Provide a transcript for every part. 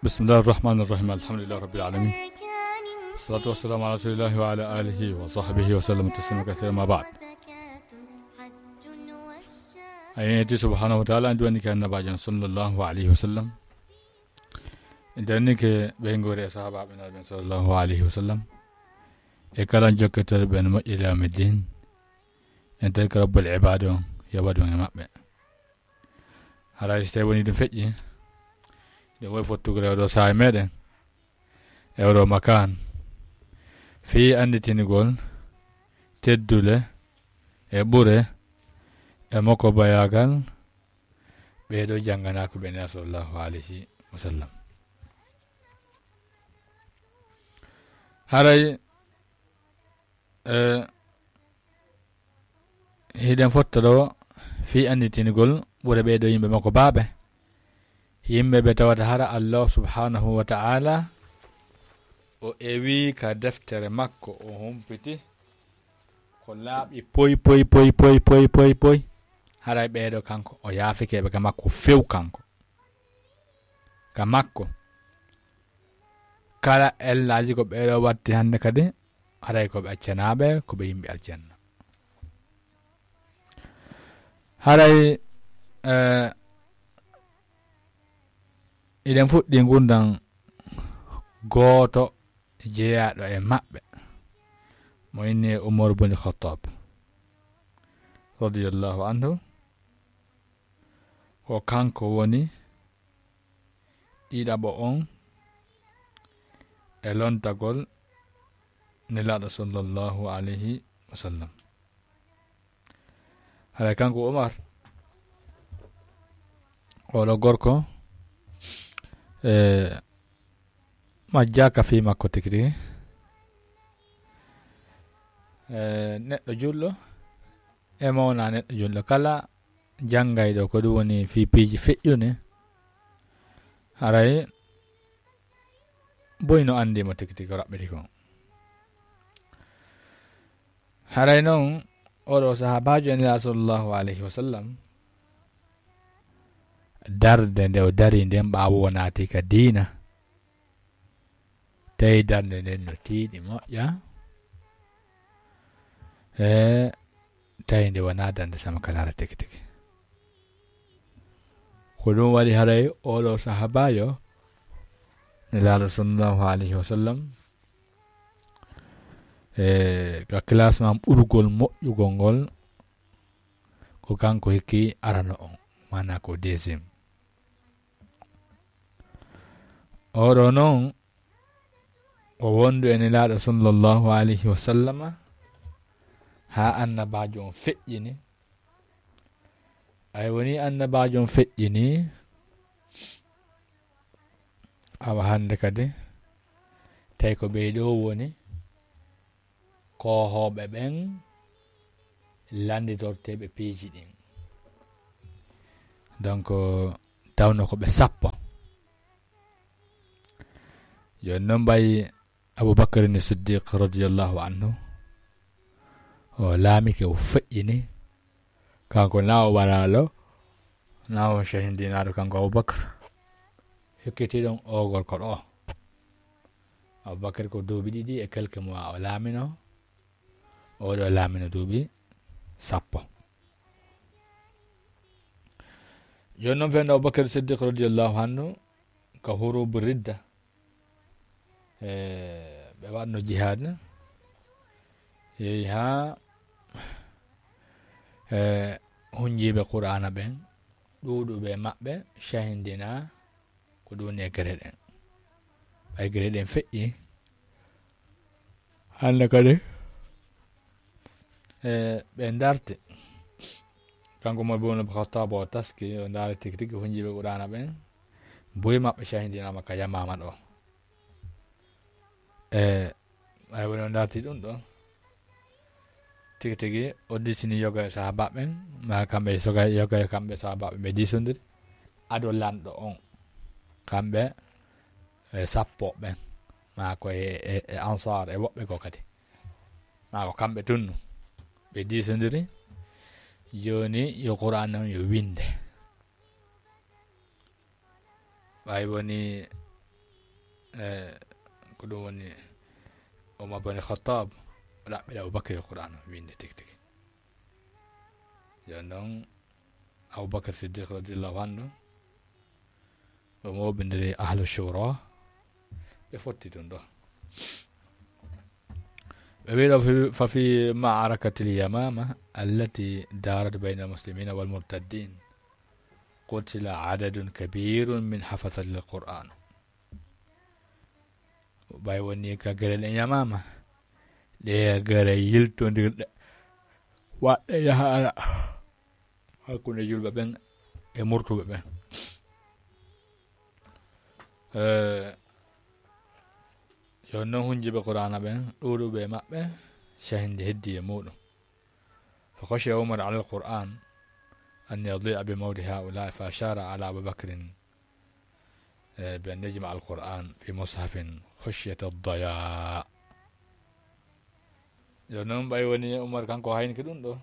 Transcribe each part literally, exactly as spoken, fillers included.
بسم الله الرحمن الرحيم. الحمد لله رب العالمين. والصلاة والسلام على رسول الله وعلى آله وصحبه وسلم تسليما كثيرا، ما بعد. A yeñeti subhanahu wa ta'ala, en duwanike annabaajo on sallallahu alayhi wa sallam. En darnike ɓeynguure e sahaabaaɓe Nulaaɗo ɓen sallallahu alayhi wa sallam. E kala jokkitooɓe ɓen moƴƴi ila yawmi ddin. En darnike Rabbul Ibaad on, yo waɗu e maɓɓe. Haray si tawi woni ɗum feƴƴi, ɗum woy fottugol e oɗo saa'i meɗen, e oɗo makaan, fii annditingol teddule e ɓure e mokkobayaagal ɓee ɗoo jannganaaka ɓe Nulaaɗo sallallahu alayhi wa sallam. Haray, eh, hiɗen fotta ɗoo fii annditingol ɓure ɓee ɗoo yimɓe makkobaaɓe. Yimɓe ɓe tawata hara Allah subhanahu wa ta'ala o ewi ka deftere makko, o humpiti ko laaɓi poy, poy, poy, poy, poy, poy, poy. Haray ɓee ɗoo kanko, o yaafike ɓe ka makko few kanko. Ka makko. Kala ellaaji ko ɓee ɗoo watti hannde kadi, haray ko ɓe accanaaɓe, ko ɓe yimɓe aljanna. Haray, eh, hiɗen fuɗɗii ngurndan gooto jeyaaɗo e maɓɓe, mo inni e Umar bun Khattab, radiyallahu anhu. Ko kanko woni ɗiɗaɓo on e lontagol Nelaaɗo sallallahu alayhi wa sallam. Haray kanko Umar, oɗo gorko, e, majjaaka fii makko tigi tigi. E, neɗɗo julɗo, e mo wonaa neɗɗo julɗo. Kala janngayɗo ko ɗum woni fii piiji feƴƴuɗi, haray boy no anndi mo tigi tigi ko raɓɓiti kon. Haray non, oɗo sahaabaajo Nelaaɗo sallallahu alayhi wa sallam, darde nde o dari nden ɓaawo o naati ka diina, tawi darde nden no tiiɗi moƴƴa, e tawi nde wonaa darnde sama ka laara tigi tigi. Ko ɗum waɗi haray oɗo sahaabaajo Nelaaɗo sallallahu alayhi wa sallam, e ka classement ɓurgol moƴƴugol ngol, ko kanko hikki arano on, maanaa ko deuxième. Oɗo non, o wondu e Nelaaɗo sallallahu alayhi wa sallama, haa annabaajo on feƴƴini. Ay woni annabaajo on feƴƴini, awa hannde kadi, tawi ko ɓee ɗoo woni koohooɓe ɓen lannditorteeɓe piiji ɗin. Donc, tawno ko ɓe sappo. Jooni non ɓay Abubakar ni Siddiq radiyallahu anhu, o laamike, o feƴƴini, kanko na o waraalo, na o cehindinaaɗo kanko Abubakar. Hokkiti ɗon o gorko ɗoo. Abubakar ko duuɓi ɗiɗi e quelques mois o laamino. Oɗo laamino duuɓi sappo. Jooni non fewndo Abubakar Siddiq radiyallahu anhu ka hurubu ridda. E, ɓe waɗno jihaad. Yehi haa, e, hunjiiɓe Qur'aana ɓen, ɗuuɗuɓe maɓɓe cahindina ko ɗum woni e gere ɗen. Ɓay gere ɗen feƴƴi, hannde kadi, e, ɓe darti. Kanko mo Umar bun Khattab o taski, o ndaari tigi tigi hunjiiɓe Qur'aana ɓen. Buy maɓɓe cahindinaama ka Yamaama ɗoo. E, ɓay woni o darti ɗum ɗoo. Tigi tigi, o disini yoga e sahaaba ɓen, ma kamɓe soga, yoga e kamɓe sahaaba ɓen ɓe disondiri. Ado lanɗo on, kamɓe, e, sappo ɓen, ma ko e, e, e Ansaar, e woɓɓe goo kadi. Ma ko kamɓe tun ɓe disondiri. Jooni yo Qur'aan on yo winde. Ɓay woni E, ko ɗum woni Omar bin Khattab, o ɗaɓɓiri Abubakar yo Qur'an o winnde tigi tigi. Yo noon Abubakar Siddiq radiyallahu anhu, o mooɓindiri Ahlu Shura, ɓe fotti ɗum ɗo. Ɓe wiɗo fi, ففي معركة اليمامة التي دارت بين المسلمين والمرتدين قتل عدد كبير من حفظة القرآن. Ɓay woni ka gere ɗen Yamaama, ɗe gere yiltondirɗe, waɗɗe yahaara hakkunde julɓe ɓen e murtuɓe ɓen. Eh, yo non hunjiɓe Qur'aana ɓen, ɗuuɗuɓe e maɓɓe, cahindi heddi e muuɗum. فخشي عمر على القرآن أن يضيع بموت هؤلاء، فأشار على أبي بكر، eh, بأن يجمع القرآن في مصحف خشية الضياع. Yo non ɓay woni Umar kanko haynike ɗum ɗo.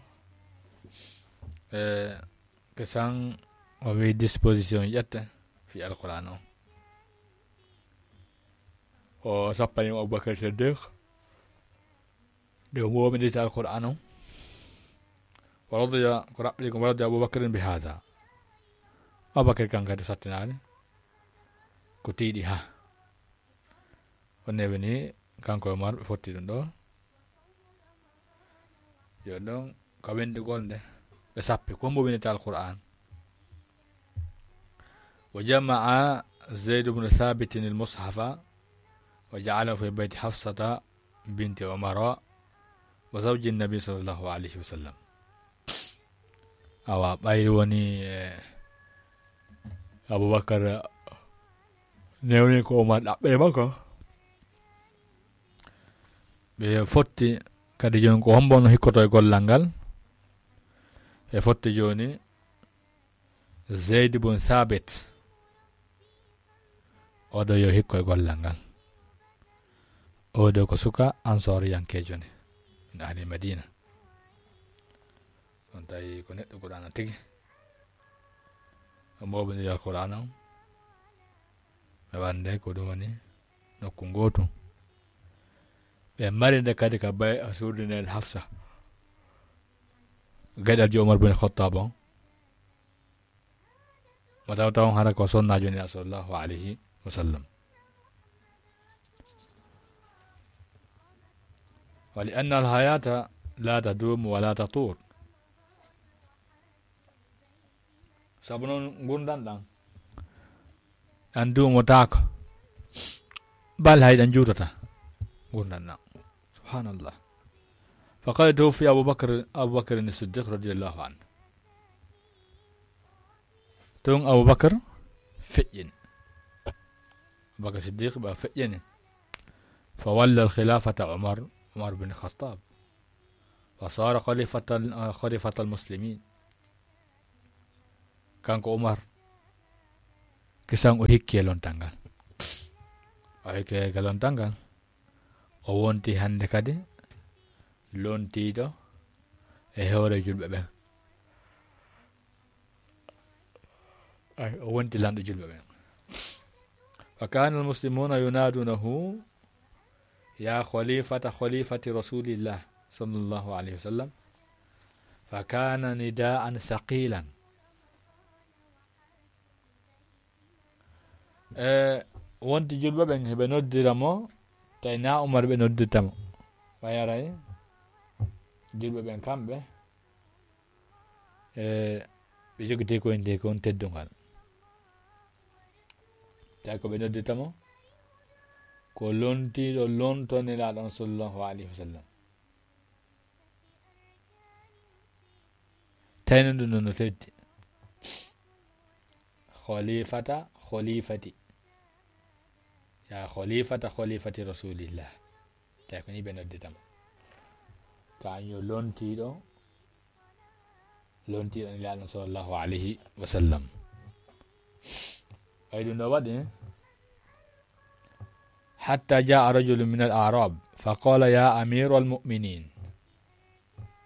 Eh, kesan o wi disposition ƴette fi Alqur'an o. O sappani mo Abubakar Siddiq. Nde o mooɓindita Alqur'an on, wa radiya, ko raɓɓiɗi ko, wa radiya Abubakrin bi hada. Abubakar kan kadi sattinaali ko tiiɗi ha. Onne woni kanko e Umar ɓe fotti ɗum ɗo. Yo ɗon ka wendugol nde ɓe sappi ko mooɓindita Alqur'an. وجمع زيد بن ثابت المصحف وجعله في بيت حفصة بنت عمر وزوج النبي صلى الله عليه وسلم. Awa, ɓayri woni, eh, Abubakar newni ko Umar ɗaɓɓere makko. Ɓe fotti kadi jooni ko hombo no hikkoto e gollal ngal. Ɓe fotti jooni Zayd bun Thabit. Oɗo yo hikko e gollal ngal. Oɗo ko suka Ansooriyankeejo ne, min ahli Madina. On tawi ko neɗɗo Qur'aana tigi. O mooɓindiri Alqur'aana on. Ɓe wande ko ɗum woni nokku ngootu. Ɓe mari nde kadi ka bay, a suudu nden Hafsa. Gaɗal jo Umar bin Khattab on. Mo taw taw hara ko sonnaajo Nulaaɗo sallallahu alayhi wa sallam. ولأن الحياة لا تدوم ولا تطول. Sabu noon ngurndan ɗan, ɗan duumotaako. Bal hay ɗan juutata. Ngurndan ɗan. Subhanallah. فقد توفي أبو بكر، أبو بكر الصديق رضي الله عنه. Tun Abubakar feƴƴini. Abubakar Siddiq ɓa feƴƴini. فولى الخلافة عمر، عمر بن الخطاب. وصار خليفة، خليفة المسلمين. Kanko Umar, kisan o hikki e lontal ngal. O hikki e lontal ngal. O wonti hannde kadi lontiiɗo e hoore julɓe ɓen. Ay, o wonti lanɗo julɓe ɓen. وكان المسلمون ينادونه يا خليفة خليفة رسول الله صلى الله عليه وسلم. فكان نداء ثقيلا. E wonti julɓe ɓen heɓe noddira mo, tawi na Umar ɓe noddirta mo. Ɓay aray julɓe ɓen kamɓe, e ɓe jogiti ko innde kon teddungal. Tawi ko ɓe noddirta mo, ko lontiiɗo lonto Nelaaɗo on sallallahu alayhi wa sallam. Tawi noon ɗum noon no teddi. Khalifata, khalifati. Ya khalifata, khalifati Rasulillah. Tawi ko ni ɓe noddita mo. Kañum yo lontiiɗo, lontiiɗo Nelaaɗo sallallahu alayhi wa sallam. Ay ɗum ɗo waɗi, حتى جاء رجل من الأعراب فقال يا أمير المؤمنين.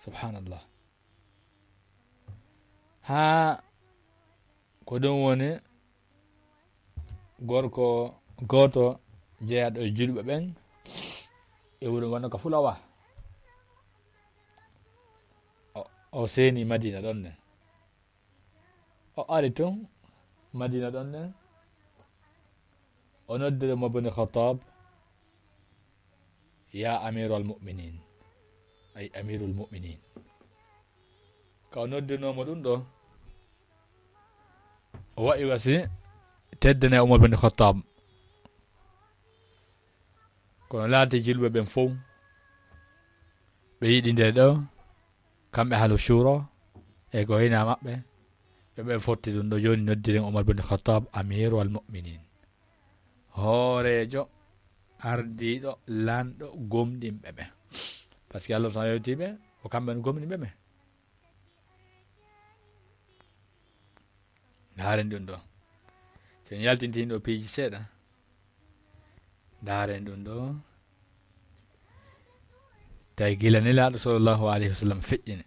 Subhanallah. Haa ko ɗum woni gorko gooto jeyaaɗo e julɓe ɓen e wuro wano ka Fulawa. O, o seeni Madina ɗon ne. O ari tun Madina ɗon ne. O noddiri Umar bin Khattab, "Ya Amiral Mu'minin." Ay, Amirul Mu'minin. Ka o noddirnoo mo ɗum ɗo, o wa'i wasi teddane Umar bin Khattab. Kono laati julɓe ɓen fow, ɓe yiɗi nde ɗo, kamɓe ahlu shura, e ko hina maɓɓe, ɓe ɓe fotti ɗum ɗo. Jooni noddiren Umar bin Khattab, Amiru al Mu'minin. Hooreejo, ardiiɗo, lanɗo, gomɗinɓe ɓe. Parce que Allah subhanahu yewti ɓe, o kamɓe no gomɗinɓe ɓe. Ndaaren ɗum ɗo. So en yaltintin ɗo piiji seeɗa. Ndaaren ɗum ɗo. Tawi gila Nelaaɗo sallallahu alayhi wa sallam feƴƴini.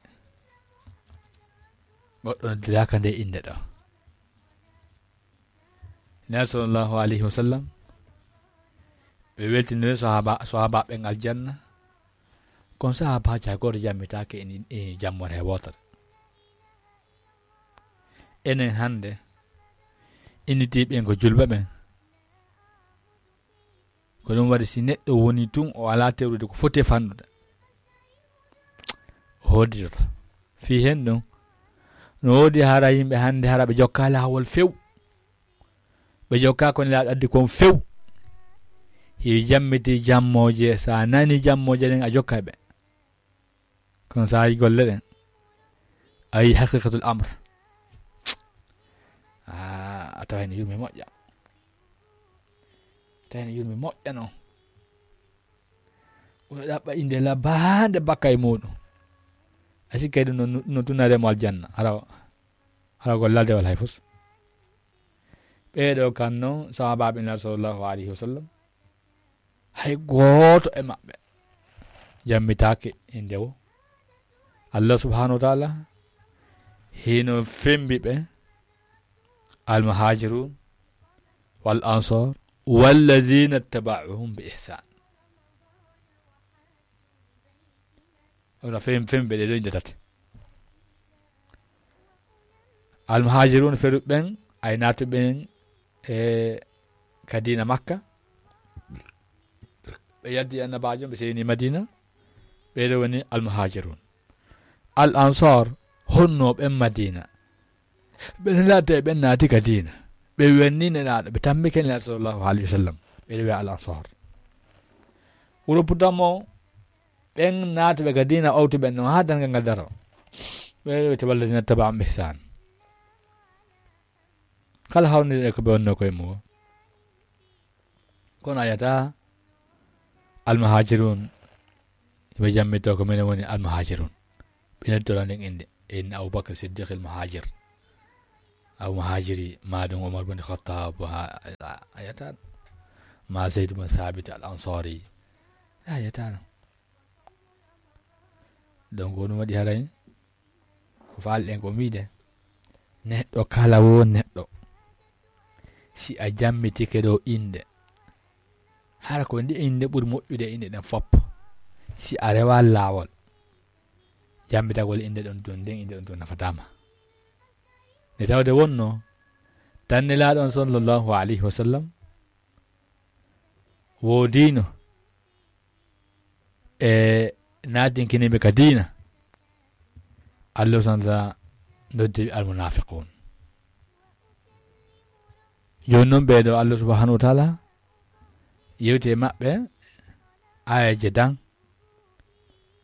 Goɗɗo noddiraaka nde innde ɗo. Nelaaɗo sallallahu alayhi wa sallam, ɓe weltinire sahaba, sahabaaɓe ɓen aljanna. Kono sahabaajo hay gooto jammitaake e ni, e jammore hay wootere. Enen hannde, innitiiɓe en ko julɓe ɓen. Ko ɗum waɗi, si neɗɗo woni tun, o alaa tewrude ko foti e fannude, o hodditoto. Fii hen ɗum, no woodi hara yimɓe hannde hara ɓe jokkaa laawol few. Ɓe jokkaa ko Nelaaɗo addi kon few. Hiɓe jammiti jammooje, so a nani jammooje ɗen, a jokka ɓe. Kono so a yi golle ɗen, a yi haqiqatul amr. Ah, a tawa hino yurmi moƴƴa. Tawa hino yurmi moƴƴa non. O ɗaɓɓa innde labbaande bakka e muɗum. A sikka ɗum no, no tunare mo aljanna. Hara, hara ko lalde wala hay fus. Ɓeeɗo kan non, sahabaaɓe Nelaaɗo sallallahu alayhi wa sallam, hay gooto e maɓɓe jammitaake innde o. Allah subhanahu wa ta'ala hino fembi ɓe, al muhajirun wal ansar walladhina taba'uhum bi ihsan. Wona fem-, fembe ɗe ɗo inde tati. Almuhajirun feru ɓen, ay naatu ɓen e ka diina Makka. Ɓe yalti Annabaajo, ɓe seyni Madina. Ɓe ɗo woni almuhajirun. Al ansar, honno ɓen Madina. Ɓe naata e ɓen naati ka diina. Ɓe wenni Nelaaɗo, ɓe tammi ke Nelaaɗo sallallahu alayhi wa sallam. Ɓe ɗo wi'a al ansar. Wuro Putamo, ɓen naatuɓe ka diina, owtuɓe non haa darngal ngal daro. Ɓe wiyete walladina taba'ahum bi ihsan. Kala hawniri e ko ɓe wonno koye mum. Kono a yiyata almuhajirun, ɓe jammitoo ko minen woni almuhajirun. Ɓe nodditora nden innde. Inna Abubakar Siddiq al muhajir. Abu Muhajiri, ma ɗum Umar bin Khattab, ha, a, a yiyata. Ma Zaid bin Thabit al Ansari. A yiyata no. Donc, ko ɗum waɗi haray, ko faalɗen ko wiide, neɗɗo kala wo neɗɗo, si a jammitike ɗo innde, hara ko nde innde ɓuri moƴƴude e inɗe ɗen fop, si a rewa laawol, jammitagol innde ɗon tun, nden innde ɗon tun nafataama. Nde tawde wonno, tan Nelaaɗo on sallallahu alayhi wa sallam woodino e naatinkiniiɓe ka diina, Allah subhanahu wa ta'ala noddi almunafiqun. Jooni non ɓee ɗo Allah subhanahu wa ta'ala yewti e maɓɓe aayeeje dan,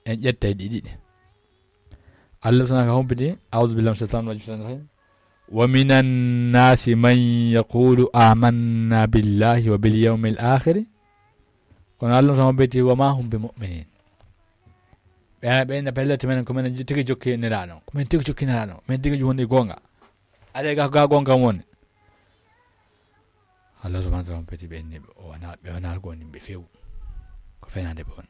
en ƴettay ɗi ɗiɗi. Allah subhanahu wa ta'ala humpiti, a'udhu billahi minash shaitanir rajim. Wa minan nasi man yaqulu amanna billahi wa bil yawmil akhir. Kono Allah subhanahu wa ta'ala humpiti, wa ma hum bi mu'minin. Ɓe, ɓe na pellete men ko men tigi jokkiniraano. Ko men tigi jokkiniraano. Men tigi woni goonga. Aɗa ga, ga goonga woni. Allah subhanahu wa ta'ala humpiti ɓe ni, o wana, ɓe wana ko woni ɓe few. Ko fenaande ɓe woni.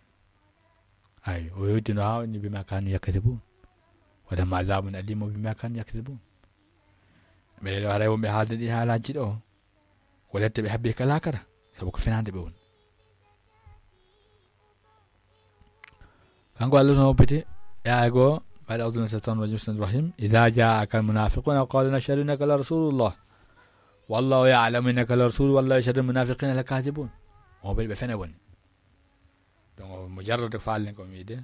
Ay, o yewtino haa woni bima kanu yaktasibuun. Wa lahum azabun alimun bima kanu yaktasibuun. Ɓe ɗo haray wonɓe haalde ɗi haalaaji ɗo. Ko lette ɓe habbi ka laakara, sabu ko fenaande ɓe woni. Kanko Allah subhanahu wa ta'ala, aya goo, بعد أعوذ بالله من الشيطان الرجيم، بسم الله الرحمن الرحيم. إذا جاءك المنافقون قالوا نشهد إنك لرسول الله والله يعلم إنك لرسول والله يشهد إن المنافقين لكاذبون. Mo ɓe, ɓe fene woni. Donc, mo jarrode faalen ko mi wiide.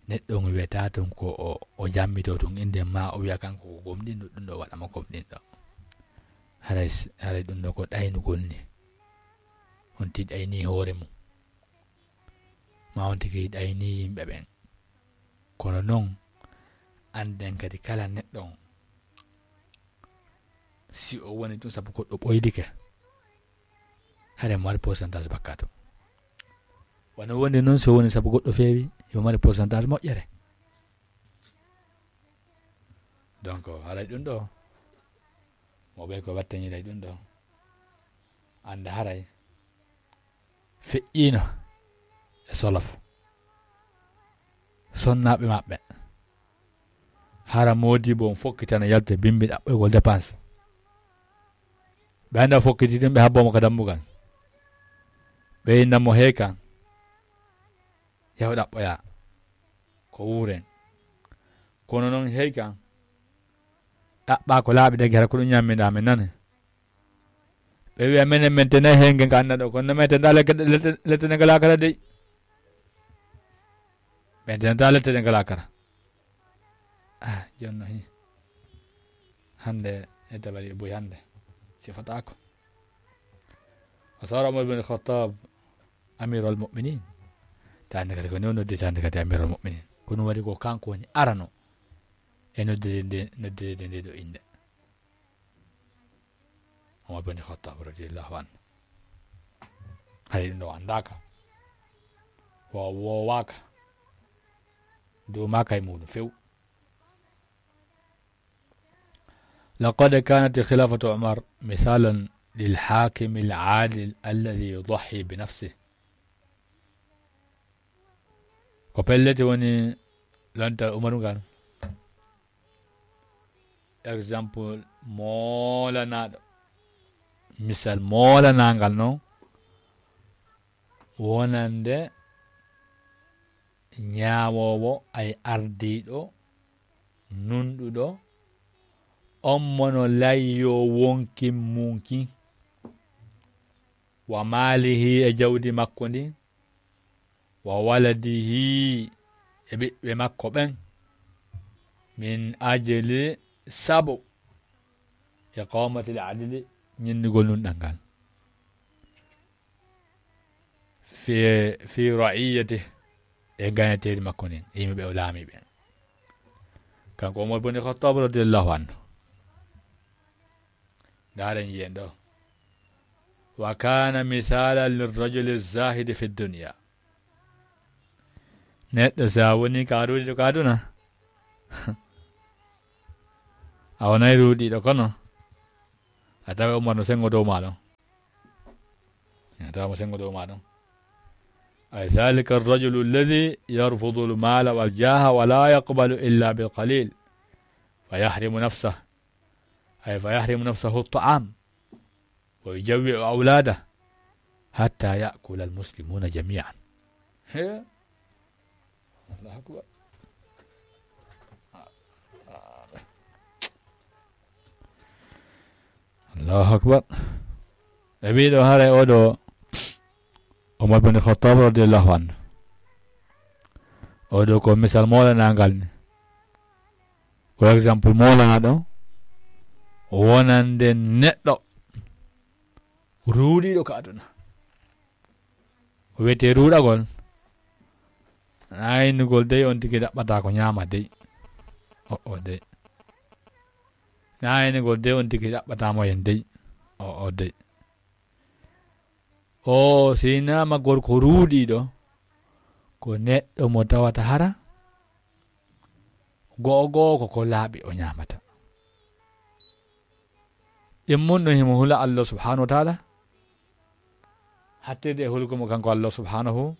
Neɗɗo mo wiyata tun ko o, o jammitoo tun innde ma, o wiya kanko ko gomɗinɗo, ɗum ɗo waɗa mo gomɗinɗo. Haray s-, haray ɗum ɗo ko ɗaynugol ni. On tigi ɗayni hoore mum. Ma on tigi ɗayni yimɓe ɓen. Kono non, annden kadi kala neɗɗo on, si o woni tun sabu goɗɗo ɓoydike, haray mo mari pourcentage bakkaatu. Wano woni non, si o woni sabu goɗɗo feewi, yo mari pourcentage moƴƴere. Donc, haray ɗum ɗo, mo ɓe ko wattaniray ɗum ɗo, annda haray feƴƴiino e solof. Sonnaaɓe maɓɓe. Hara moodibo on fokkitana yaltude bimbi ɗaɓɓoygol dépense. Ɓe annda fokkiti ɗum, ɓe habbo mo ka dambugal. Ɓe inna mo heykan. Yahu ɗaɓɓoya. Ko wuuren. Kono non heykan. Ɗaɓɓa ko laaɓi dagi hara ko ɗum ñamminɗa men nane. Ɓe wiya menen men tene heyken ka anna ɗo. Kono men tene lette, lette, lette ne ngalaa kala dey. Men tene ta lette ne ngalaa kala. Ah, jonno hi. Hande e dabari e boy hande. Si fataako. Wa sara Umar bin Khattab Amirul Mu'minin. Tande kadi ko non nodditande kadi Amirul Mu'minin. Kono waɗi ko kanko woni arano e nodditde nde, nodditde nde ɗo innde. Umar bin Khattab radiyallahu anhu. Hari ɗum ɗo anndaaka. Wa-, woowaaka. Duumaaka e muɗum few. لقد كانت خلافة عمر مثالا للحاكم العادل الذي يضحي بنفسه. Ko pellet woni lontal Umaru ngal. Exemple moolanaaɗo. Misal moolanangal non. Wonande ñaawoowo ay ardiiɗo nunɗuɗo, on mono layyo wonkin munkin, wa maalihi e jawdi makko ndin, wa waladihi e ɓiɓɓe makko ɓen, min ajli sabu iqamatil adli ñinnugol nunɗal ngal. Fi, fi ra'iyyati e gaynateeri makko ndin, e yimɓe ɓe o laami ɓen. Kanko Umar bin Khattab radiyallahu anhu. Ndaaren yiyen ɗo. Wa kana misalan lirrajuli zahidi fi dunya. Neɗɗo si a woni ka ruuɗiɗo ka aduna, a wonay ruuɗiɗo kono, a tawa Umar no sengo dow ma ɗon. A tawa mo sengo dow ma ɗon. Ay, dhalika ar-rajulu alladhi yarfudu al-mala wal jaha wa la yaqbalu illa bil qalil. Fa yahrimu nafsah. Ay, fa yahrimu nafsahu at-ta'am. Wa yujawwi'u awlada hatta ya'kula al-muslimuna jami'an. He? Allahu akbar. Allahu akbar. Ɓe mbiɗo haray oɗo Umar bin Khattab radiyallahu anhu. Oɗo ko misal molanangal ni. Ko exemple molanaɗo wonande neɗɗo ruuɗiɗo ka aduna. Ko wiyetee ruuɗagol, aynugol dey on tigi ɗaɓɓata ko ñaama dey. O, o dey. Aynugol dey on tigi ɗaɓɓata mo en dey. O, o dey. O sinaama gorko ruuɗiɗo, ko neɗɗo mo tawata hara go'o go'o ko ko laaɓi o ñaamata. Ɗimmun ɗum himo hula Allah subhanahu wa ta'ala, hattirde e hulgo mo kanko Allah subhanahu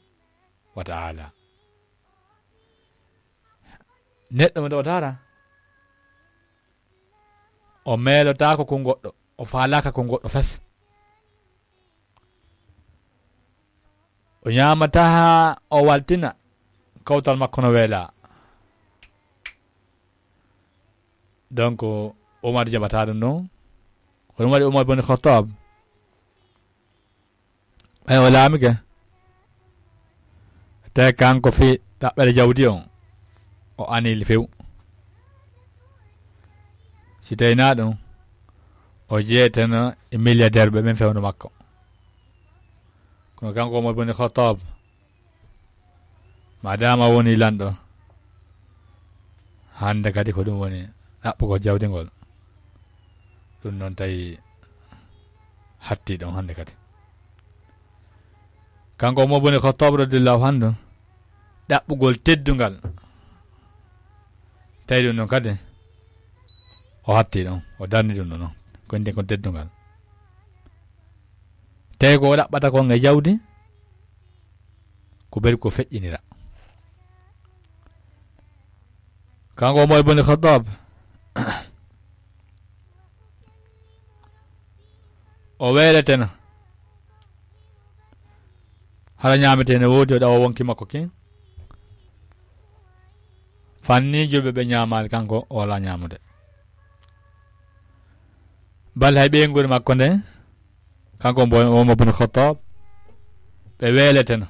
wa ta'ala. Neɗɗo mo tawata hara, o meelotaako ko goɗɗo, o faalaaka ko goɗɗo fes. O ñaamataa haa o waltina kawtal makko no weela. Donc, Omar jaɓata ɗum ɗon. Ko ɗum waɗi Omar bun Khattab, ɓay o laamike, tawi kanko fii ɗaɓɓere jawdi on, o anili few. Si tawi naa ɗum, o jeeteno e milliardaire ɓe ɓen fewndo makko. Kono kanko Omar bun Khattab, maadaama woni lanɗo, hannde kadi ko ɗum woni ɗaɓɓugol jawdi ngol. Ɗum noon tawi hatti ɗon hannde kadi. Kanko Umar bun Khattab radiyallahu anhu, ɗaɓɓugol teddungal. Tawi ɗum noon kadi, o hatti ɗon, o darni ɗum ɗon, ko nden kon teddungal. Tawi ko o ɗaɓɓata kon e jawdi, ko beri ko feƴƴinira. Kanko Umar bun Khattab, o weeleteno. Hara ñaametee ne woodi, o ɗawa wonki makko kin. Fanni julɓe ɓe ñaamaali, kanko o wala ñaamude. Bal hay ɓeynguure makko nde, kanko Umar bun Khattab, ɓe weeleteno.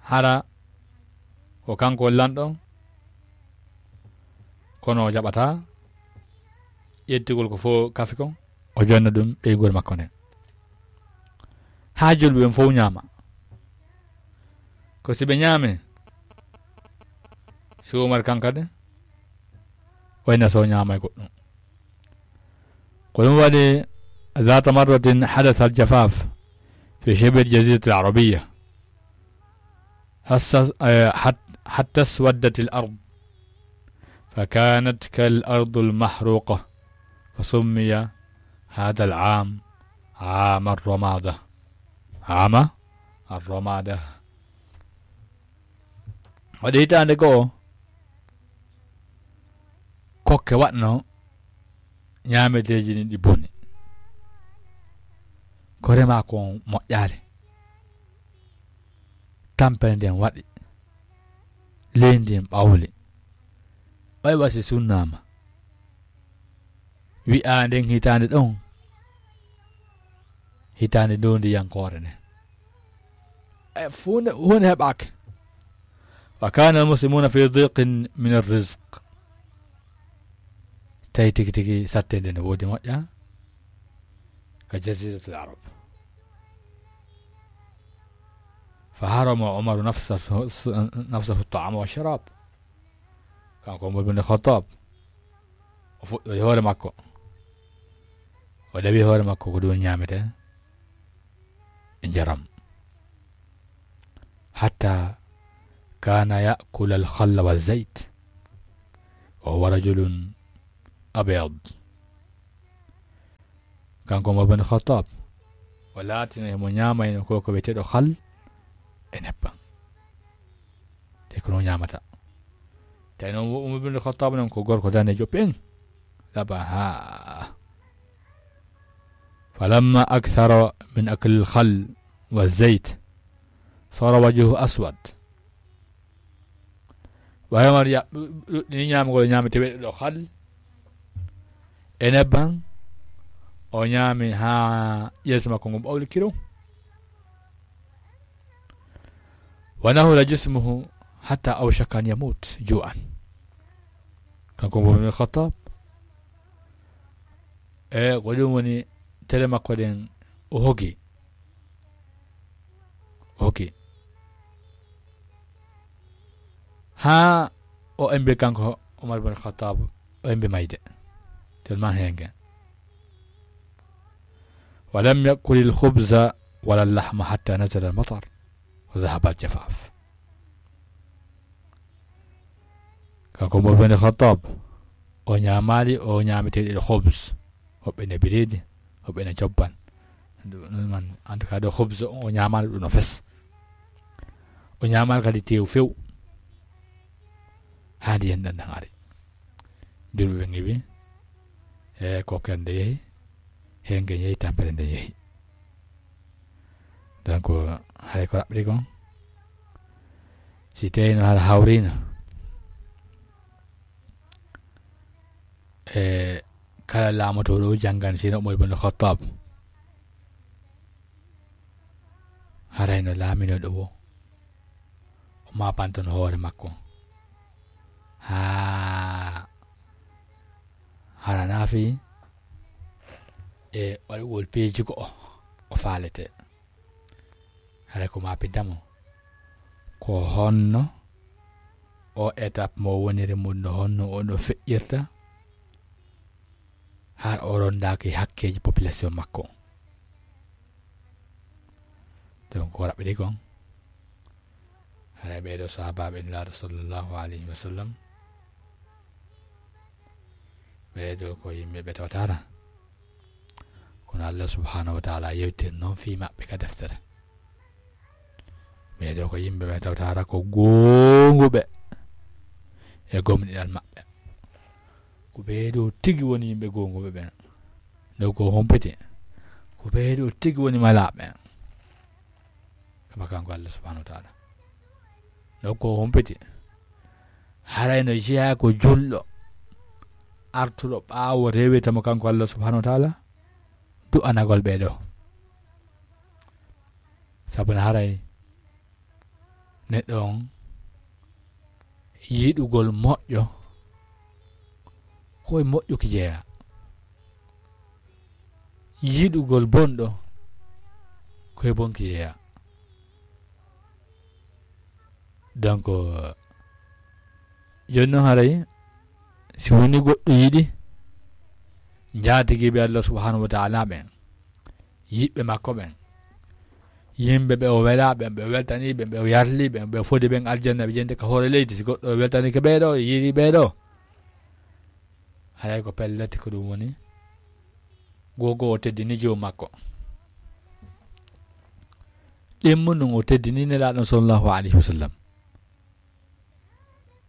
Hara ko kanko woni lanɗo, kono o jaɓata ƴettugol ko fof kafi kon, o jonna ɗum ɓeynguure makko nden. Haa julɓe ɓen fof ñaama. Ko si ɓe ñaami, si Umar kan kadi, wayna so ñaama e goɗɗum. Ko ɗum waɗi, ذات مرة حدث الجفاف في شبه الجزيرة العربية. حس-، آه، حت-، حتى اسودت الأرض، فكانت كالأرض المحروقة، فسمي هذا العام عام الرمادة. عام الرمادة. Waɗi hitaande goo, kokke waɗno ñaameteeji ɗin ɗi boni. Ko remaa kon moƴƴaali. Tampere nden waɗi. Leydi ndin ɓawli. Ɓay wa si sunnaama. Wi'aa nden hitaande ɗon, hitaande ndondiyankoore nden. E, huunde, huunde heɓaaki. وكان المسلمون في ضيق من الرزق. Tawi tigi tigi sattende ne woodi moƴƴa ka jaziratul Arab. فحرم عمر نفسه، نفسه الطعام والشراب. Kanko Umar bin Khattab, o fuɗɗori hoore makko. O ɗawi hoore makko ko ɗum ñaamete e njaram. حتى كان يأكل الخل والزيت وهو رجل أبيض. Kanko Umar bin Khattab, o laatino himo ñaamayno ko, ko wi'eteeɗo khal e nebbam. Te ko non ñaamata. Tawi noon Umar bin Khattab noon ko gorko daneejo peŋ. Laba haa. فلما أكثر من أكل الخل والزيت صار وجهه أسود. Ɓay Umar ya-, ɗuɗɗini ñaamagol, ñaami teweɗe ɗo khal e nebbam, o ñaami haa yeeso makko ngon ɓawli kiro. ونهل جسمه حتى أوشك أن يموت جوعا. Kanko Umar bin Khattab, e ko ɗum woni tere makko ɗen, o hogi. O hogi. Haa o embi kanko Umar bin Khattab, o embi mayde. Tellement heenge. ولم يأكل الخبز ولا اللحم حتى نزل المطر وذهب الجفاف. Kanko Umar bin Khattab, o ñaamaali, o ñaami teeɗe ɗo khubz, hoɓɓe ne bireedi, hoɓɓe ne cobban. Ɗum man, en tout cas, ɗo khubz o ñaamaali ɗum no fes. O ñaamaali kadi teew few. Haa ndiyan ɗan ɗan ari. Julɓe ɓe ngiwi, e ko kende yehi, heenge yehi, tampere nde yehi. Donc, hay ko raɓɓiɗi kon, Si tawii no hara hawriino e kala laamotooɗo o janngan, sino Umar ibn Khattab, haray no laaminooɗo o, o maapantono hoore makko haa hara naafi e waɗugol peeji ko o, o faalete. Haray ko maapinta mo, ko honno o étape mo woniri mun, no honno o no feƴƴirta, har o rondaaki hakkeeji population makko. Donc, ko raɓɓiɗi kon, haray ɓee ɗoo sahaabaaɓe Nulaaɗo sallallahu alayhi wa sallam, ɓee ɗoo ko yimɓe ɓe tawata hara kono Allah subhanahu wa ta'ala yewtir noon fii maɓɓe ka deftere. Ɓee ɗoo ko yimɓe ɓe tawata hara ko goonguɓe e gomɗinal maɓɓe. Ko ɓee ɗoo tigi woni yimɓe goonguɓe ɓen. Ɗo ko humpiti. Ko ɓee ɗoo tigi woni malaaɓe. Kama kanko Allah subhanahu wa ta'ala. Ɗo ko humpiti. Haray no jeyaa ko julɗo artuɗo ɓaawo rewirta mo kanko Allah subhanahu wa ta'ala, du'anagol ɓee ɗoo. Sabu no haray neɗɗo on yiɗugol moƴƴo, ko e moƴƴuki jeyaa. Yiɗugol bonɗo, ko e bonki jeyaa. Donc, jooni noon haray, si woni goɗɗo yiɗi njaatigiiɓe Allah subhanahu wa ta'ala ɓen, yiɓɓe makko ɓen, yimɓe ɓe o welaa ɓen, ɓe o weltanii ɓen, ɓe o yarlii ɓen, ɓe o fodi ɓen aljanna, ɓe jente ka hoore leydi, si goɗɗo weltaniike ɓee ɗoo, yiɗi ɓee ɗoo, haray ko pellet ko ɗum woni, gogo o teddini joomu makko. Ɗimmo nun o teddini Nelaaɗo sallallahu alayhi wa sallam.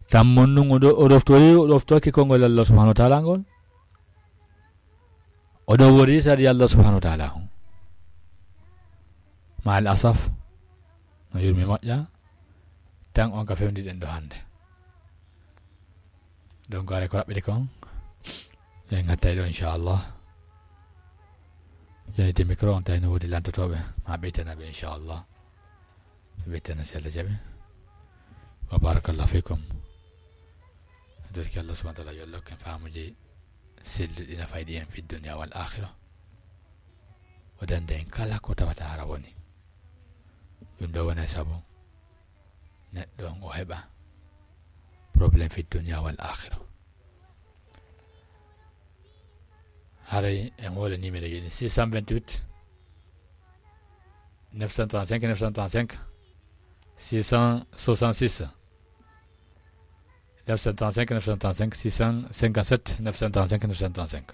Tammo nun o ɗo-, o ɗoftori, o ɗoftoki konngol Allah subhanahu wa ta'ala ngol. O ɗo wori sari Allah subhanahu wa ta'ala. Ma al asaf, no yurmi moƴƴa, tan on ka fewndi ɗen ɗo hannde. Donc, are ko raɓɓiɗi kon, en ngattay ɗo, inchallah. Jooni te micro on tawi no woodi lantotooɓe, ma ɓeytana ɓe, inchallah. Ɓeytana si Allah jaɓi. Wa barakallahu fikum. Dorki Allah subhanahu wa ta'ala yo Allah hokken faamuji selluɗi nafayɗi en fi dunya wal akhira. O danda en kala ko tawata hara woni. Ɗum ɗo wona sabu neɗɗo on o heɓa problème fi dunya wal akhira. Haray en woola numéro ji ɗin, six cent vingt-huit, neuf cent trente-cinq, neuf cent trente-cinq, six cent soixante-six, neuf cent trente-cinq, neuf cent trente-cinq, six cent cinquante-sept, neuf cent trente-cinq, neuf cent trente-cinq.